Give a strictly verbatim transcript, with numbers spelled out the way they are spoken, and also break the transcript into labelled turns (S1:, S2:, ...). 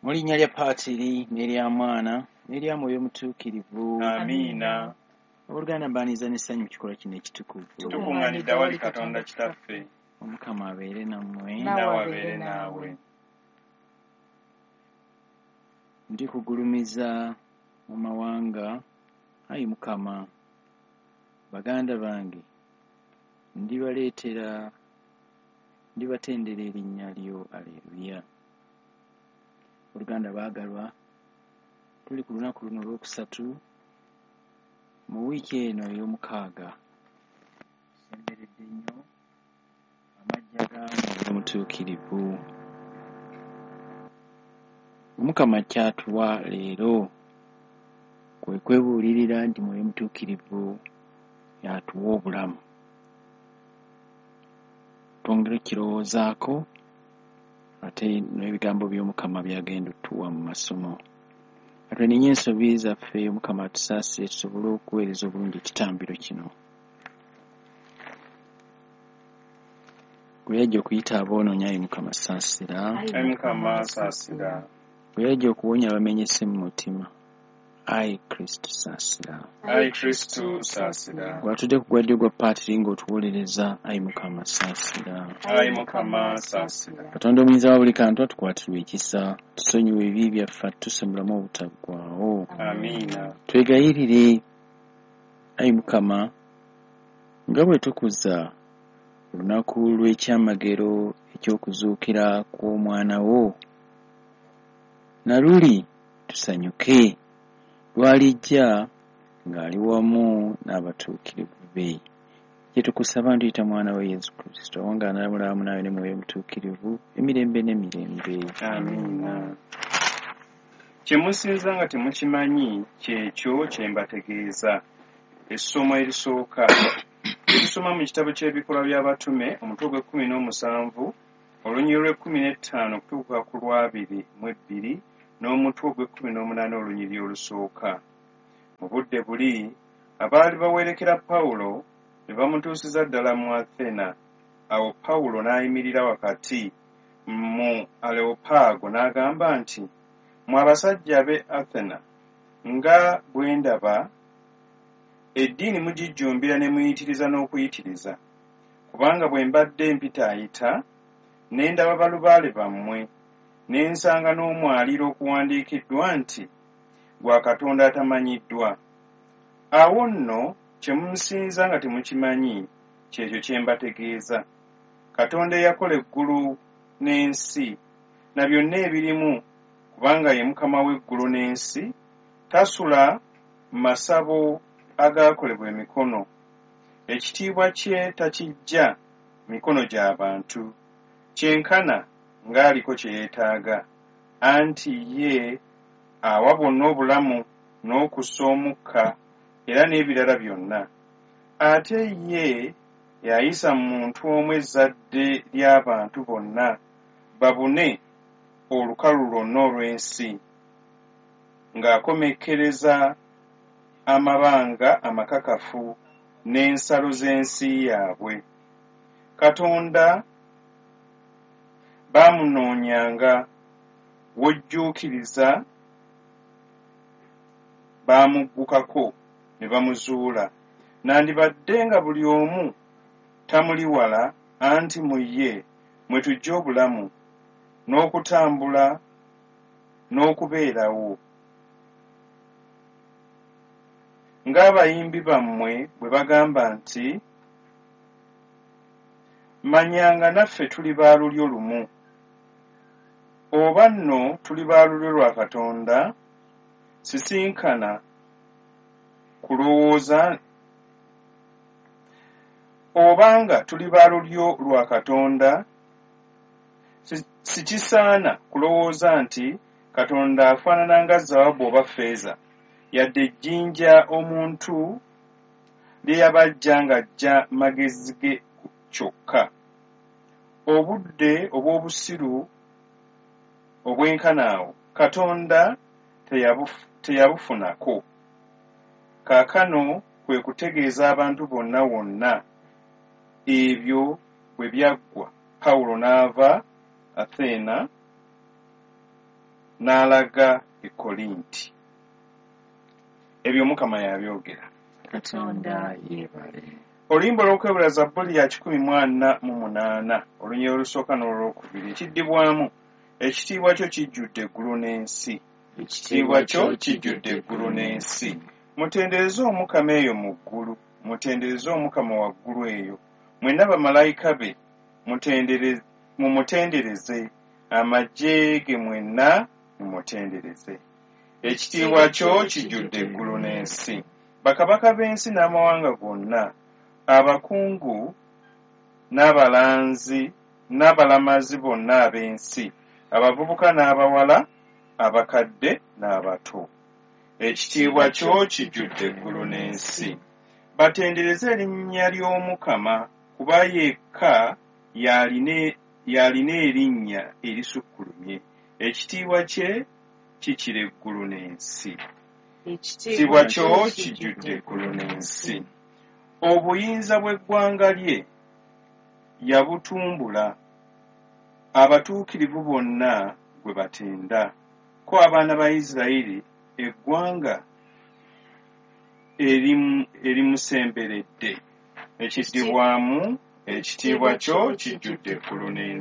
S1: Mu linnya lya Paatiri n'erya Mwana n'erya Mwoyo Mutuukirivu.
S2: Amiina.
S1: Abooluganda, mbaaniriza n'essanyu mu kikolwa kino ekitukuvu.
S2: Tukuŋŋaanidde awali Katonda Kitaffe.
S1: Omukama abeere nammwe.
S2: Naawe abeere naawe.
S1: Ndikugulumiza mu mawanga, ayi Mukama. Baganda bange ndibaleetera, ndibatendera erinnya lyo. Aleluya. Oluganda baagalwa, tuli ku lunaku luno olwokusatu mu wiiki eno ey'omukaaga. Tusemberedde nnyo amajja ga Mwoyo Mutuukirivu. Omukama kyatuwa leero kwe kwebuulirira nti Mwoyo Mutuukirivu y'atuwa obulamu. Twongere okukirowoozaako ate n'ebigambo by'Omukama by'agenda otuwa mu masomo. Atwenenye ensobi zaffe, Omukama atusaasire tusobole okuweereza obulungi ekitambiro kino. Gwe yajja okuyita aboonoonyi, ayi Mukama saasira.
S2: Ayi Mukama saasira.
S1: Gwe yajja okuwonya abamenyese mu mutima, ayi Kristo saasira.
S2: Ayi Kristo saasira.
S1: Gwe atudde ku gwa ddyo gwa Paatiri ng'otuwolereza, ayi Mukama saasira.
S2: Ayi Mukama saasira.
S1: Katonda omuyinza wa buli kantu atukwatirwe ekisa, tusonyiwe ebibi byaffe, atutusomeramu obutaggwaawo.
S2: Amiina.
S1: Twegayirire, ayi Mukama, nga bwe tukuza olunaku lw'ekyamagero eky'okuzuukira kw'omwana wo, na luli tusanyuke lw'alijja ng'ali wamu n'abatuukirivu be. Kye tukusaba ntuyita mwana we Yesu Kristo, awangaala wamu naawe ne Mwoyo Mutuukirivu emirembe n'emirembe.
S2: Amiina. Kye musinza nga temukimanyi kyekyo kye mbategeeza. Essomo erisooka erisoma mu kitabo ky'Ebikolwa by'Abatume, omutwe gw'ekkumi n'omusanvu, olunyiriri lw'ekkumi n'ettaano okutuuka ku lw'abiri mu ebbiri, n'omutwe ogw'ekkumi n'omunaana olunyiriri olusooka. Mu budde buli abaali bawerekera Pawulo ne bamutuusiza ddala mu Athena. Awo Pawulo n'ayimirira wakati mu Areopaago n'agamba nti, mmwe abasajja b'e Athena, nga bwe ndaba eddiini mugijjumbira ne muyitiriza n'okuyitiriza. Kubanga bwe mbadde mpitaayita ne ndaba balubaale bammwe, ne nsanga n'omwaliiro okuwandiikiddwa nti gwa Katonda atamanyiddwa. Awo nno kye musinza nga temukimanyi kyekyo kye mbategeeza. Katonda eyakola eggulu n'ensi na byonna ebirimu, kubanga ye Mukama w'eggulu n'ensi, tasula masabo agaakolebwa emikono. Ekitiibwa kye takiggya mikono gy'abantu, kyenkana ng'aliko kye yeetaaga, anti ye awa bonna obulamu n'okussa omukka era n'ebirala byonna. Ate ye yayisa mu muntu omu ezzadde ly'abantu bonna babune olukalu lwonna olw'ensi, ng'akomekkereza amabanga amakakafu n'ensalo z'ensi yaabwe. Katonda baamunoonyanga, w'ojjuukiriza baamuggukako ne bamuzuula. Nandibadde nga buli omu tamuli wala, anti mu ye mwe tujja obulamu n'okutambula n'okubeerawo. Ng'abayimbi bammwe bwe bagamba nti, manyanga naffe tuli ba lulyo lumu. Oba nno tuli ba lulyo lwa Katonda, sisinkana kulowooza obanga tuli ba lulyo lwa Katonda, sikisaana kulowooza nti Katonda afaanana nga zaabu oba ffeeza, yadde ejjinja omuntu lye yabajja ng'aggya magezi ge kyokka. Obudde obw'obusiru obwenkana awo Katonda teyabufunako. Kaakano kwe kutegeeza abantu bonna wonna ebyo bwe byaggwa, Pawulo n'ava Athena n'alaga e Korinti. Ebyo Omukama yabyogera.
S1: Katonda yeebale.
S2: Oluyimba olw'okwebula Zabbuli ya kikumi mu ana mu munaana, olunyiriri olusooka n'olwokubiri. Ekiddibwamu, ekitiibwa kyo kijjudde eggulu n'ensi. Ekitiibwa kyo kijjudde eggulu n'ensi. Mutendereze Omukama eyo mu ggulu, mutendereze Omukama waggulu eyo. Mwenna bamalayika be mumutendereze, amagye ge mwenna mumutendereze. Ekitiibwa kyo kijjudde eggulu n'ensi. Bakabaka b'ensi n'amawanga gonna, abakungu n'abalanzi n'abalamazi bonna ab'ensi, abavubuka n'abawala, abakadde n'abato. Ekitiibwa kyo kijjudde eggulu n'ensi. Batendereze erinnya ly'Omukama, kuba yekka y'alina erinnya erisukkulumye. Ekitiibwa kye kikira eggulu n'ensi. Ekitiibwa kyo kijjudde eggulu n'ensi. Obuyinza bw'eggwanga lye yabutumbula, abatuukirivu bonna gwe batenda. Ko abaana ba Isirayiri eggwanga erimusemberedde. Ekiddibwamu, ekitiibwa kyo kijjudde eggulu n'ensi.